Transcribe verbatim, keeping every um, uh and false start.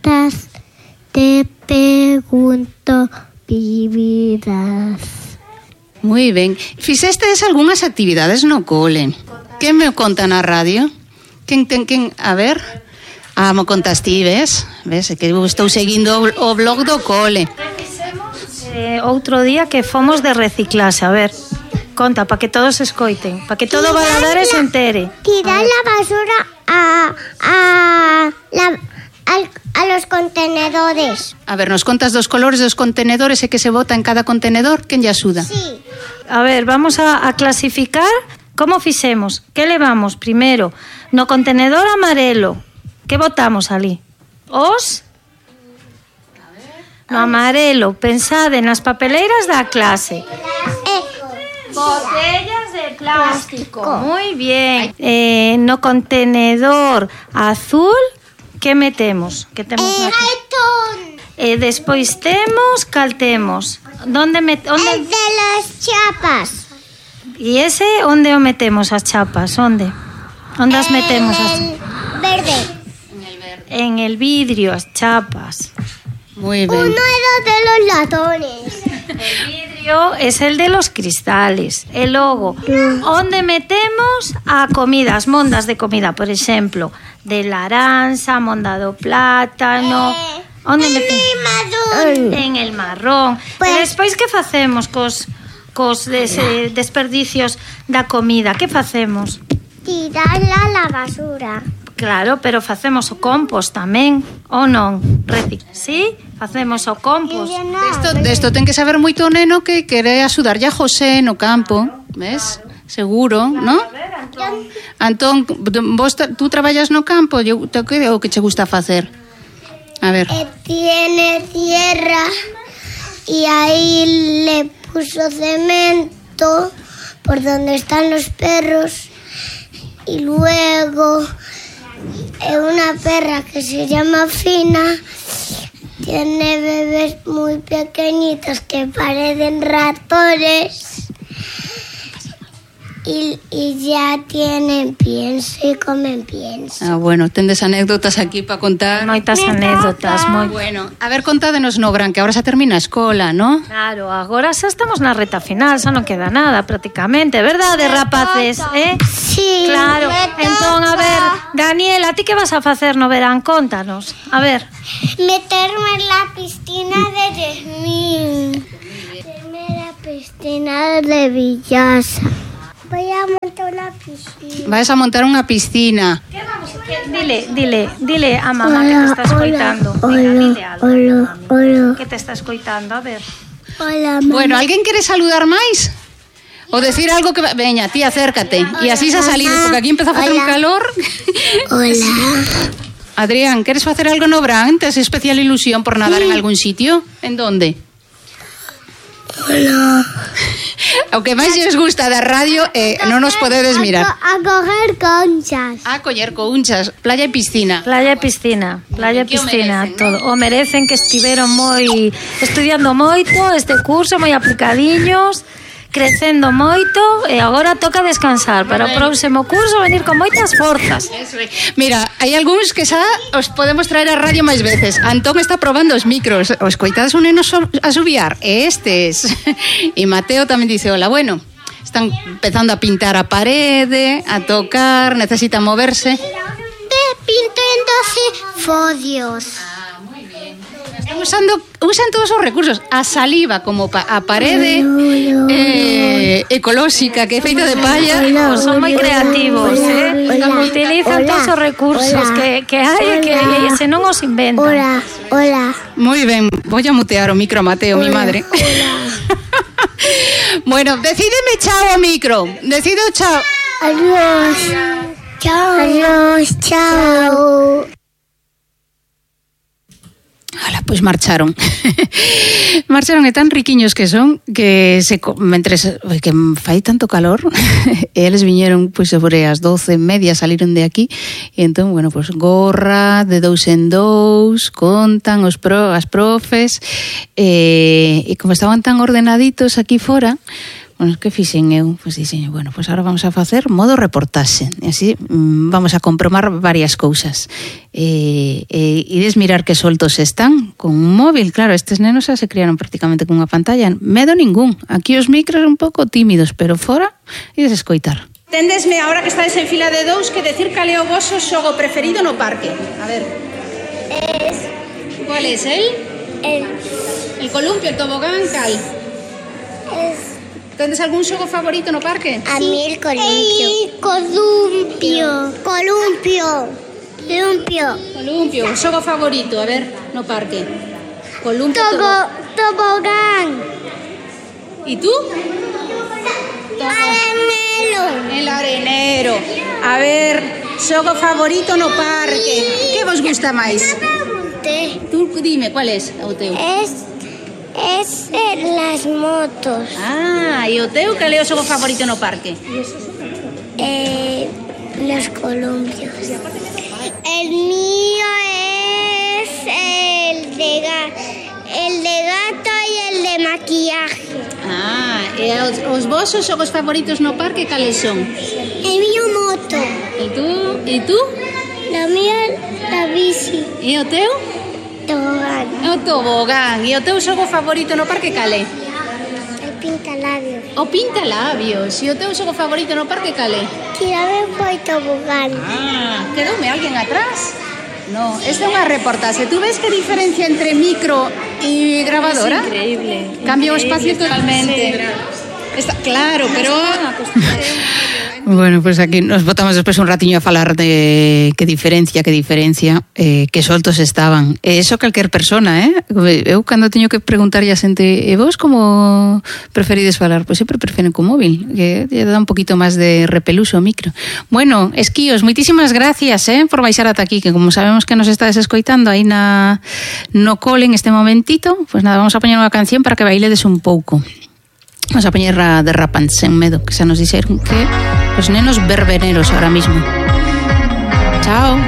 preguntas, te pregunto, vivirás. Moi ben. Fixestes algunhas actividades no cole? Que me contan na radio? Quen ten quen, a ver? Ah, mo contas ti, ves? Ves, que eu estou seguindo o blog do cole. Eh, outro día que fomos de reciclase, a ver, conta, para que todos escoiten, para que todo Valadares se entere. Tirar la basura a, a, la, a, a los contenedores. A ver, nos contas dos colores dos contenedores e que se bota en cada contenedor, quen lle axuda? Sí. A ver, vamos a, a clasificar como fixemos. Que levamos primeiro? No contenedor amarelo, que botamos ali? Os... No amarelo, pensade nas papeleiras da clase. Eh, Botellas de plástico. Muy bien. Eh, no contenedor azul, que metemos? Que temos eh, aquí? Eh, despois temos, cal temos? Donde met, onde... El de las chapas. E ese, onde o metemos as chapas? Onde? Onde as metemos as... Verde. En el vidrio, as chapas. Muy Uno ben. era de los latones. El vidrio es el de los cristales. E logo, onde metemos a comida, as mondas de comida, por exemplo, de laranxa, monda do plátano. Onde metemos? Marrón. En el marrón. Pues... E despois que facemos cos cos des, eh, desperdicios da comida? Que facemos? Tirarla a la basura. Claro, pero facemos o compost tamén, ou non? Reci, sí? Facemos o compost. Desto, desto ten que saber moito o neno que quere axudarlle a José no campo, ves? Seguro, ¿no? Antón, vos tú traballas no campo, eu te que o que che gusta facer? A ver. Eh, tiene tierra y ahí le puso cemento por donde están los perros y luego eh, una perra que se llama Fina tiene bebés muy pequeñitos que parecen ratones y, y ya tienen pienso y comen pienso. Ah, bueno, tendes anécdotas aquí para contar. Moitas anécdotas, moi Bueno, a ver, contádenos no Gran, que ahora xa termina a escola, ¿no? Claro, agora xa estamos na reta final, xa non queda nada prácticamente, verdade, rapaces, eh? Sí. Claro, entón, a ver, Daniela, ti que vas a facer no verán? Contanos, a ver. Meterme en la piscina de Yasmín. Meterme en la piscina de Villasa. Voy a montar una piscina. Vais a montar unha piscina. Que vamos, que, dile, dile, dile a mamá que te está escoitando. Hola, Venga, dile algo, hola, mami, hola. que te está escoitando, a ver. Hola, mamá. Bueno, alguén quere saludar máis? O decir algo que... Veña, ti, acércate. E así xa salir, porque aquí empeza a facer un Hola. calor. Hola. Adrián, queres facer algo no Bran? Tes especial ilusión por nadar en algún sitio? En donde? Hola. O que máis lles gusta da radio eh, non nos podedes mirar. A, co- a coger conchas. A coller counchas, playa e piscina. Playa e piscina, playa e Que o piscina, merecen, todo. O merecen, que estiveron moi estudiando moito este curso, moi aplicadiños, crecendo moito, e agora toca descansar para o próximo curso venir con moitas forzas. Eso é. Mira, hai algúns que xa os podemos traer a radio máis veces. Antón está probando os micros. Os coitados un neno so- a subiar. E estes. E Mateo tamén dice, hola, bueno, están empezando a pintar a parede, a tocar, necesitan moverse. Ve pintándose fodios. Están usando, usan todos os recursos. A saliva como pa, a parede eh, ecolóxica que é feita de palla. Pues son moi creativos, eh? Hola. Utilizan Hola. todos os recursos Hola. que, que hai e que e se non os inventan. Hola, hola. Moi ben, voy a mutear o micro a Mateo, mi madre. Bueno, decídeme chao o micro. Decido chao. Adiós. Chao. Adiós, chao. Ala, pois marcharon. Marcharon e tan riquiños que son que se mentres que fai tanto calor, eles viñeron pois sobre as doce e media, saliron de aquí e entón, bueno, pois gorra de dous en dous, contan os pro, as profes e, e como estaban tan ordenaditos aquí fora, Bueno, que fixen eu? Pois dixen, bueno, pois agora vamos a facer modo reportaxe. E así mmm, vamos a comprobar varias cousas. E, e ides mirar que soltos están con un móvil. Claro, estes nenos xa se criaron prácticamente con unha pantalla. Medo ningún. Aquí os micros un pouco tímidos, pero fora ides escoitar. Tendesme, ahora que estáis en fila de dous, que decir cal é o vosso xogo preferido no parque. A ver. Es Cuál es el? el El columpio, el tobogán, cal? es Tendes algún xogo favorito no parque? a mí el columpio. El columpio. Columpio. Columpio. Columpio, xogo favorito, a ver, no parque. Columpio, Tobo, tobogán. ¿Y tú? Arenero. El arenero. A ver, xogo favorito no parque. Que vos gusta máis? Tú dime, cuál es o teu? Es es en las motos. Ah, e o teu, cal é o xogo favorito no parque? Eh, los columpios. El mío es el de ga- el de gato y el de maquillaje. Ah, e os, os vosos xogos favoritos no parque cales son? El mío moto. E tú? E tú? La mía la bici. E o teu? Tobogán. O tobogán. E o teu xogo favorito no parque cale? El pintalabios. O pintalabios. E o teu xogo favorito no parque cale? Tirame foi tobogán. Ah, quedoume alguén atrás? No, esta é unha reportaxe. Tú ves que diferencia entre micro e grabadora? Es increíble. Cambia o espacio totalmente. Está claro, pero Bueno, pois pues aquí nos botamos despois un ratiño a falar de que diferencia, que diferencia, eh, que soltos estaban. E iso calquer persona, eh? Eu cando teño que preguntarlle a xente, e vos como preferides falar? Pois sempre preferen co móvil, que lle dá un poquito máis de repeluso ao micro. Bueno, Esquíos, moitísimas gracias, eh, por baixar ata aquí, que como sabemos que nos estades escoitando aí na no cole en este momentito, pois pues nada, vamos a poñer unha canción para que bailedes un pouco. Vamos a poñer a de Rapan Sen Medo, que xa nos dixeron que os nenos verbeneros ahora mismo. Chao.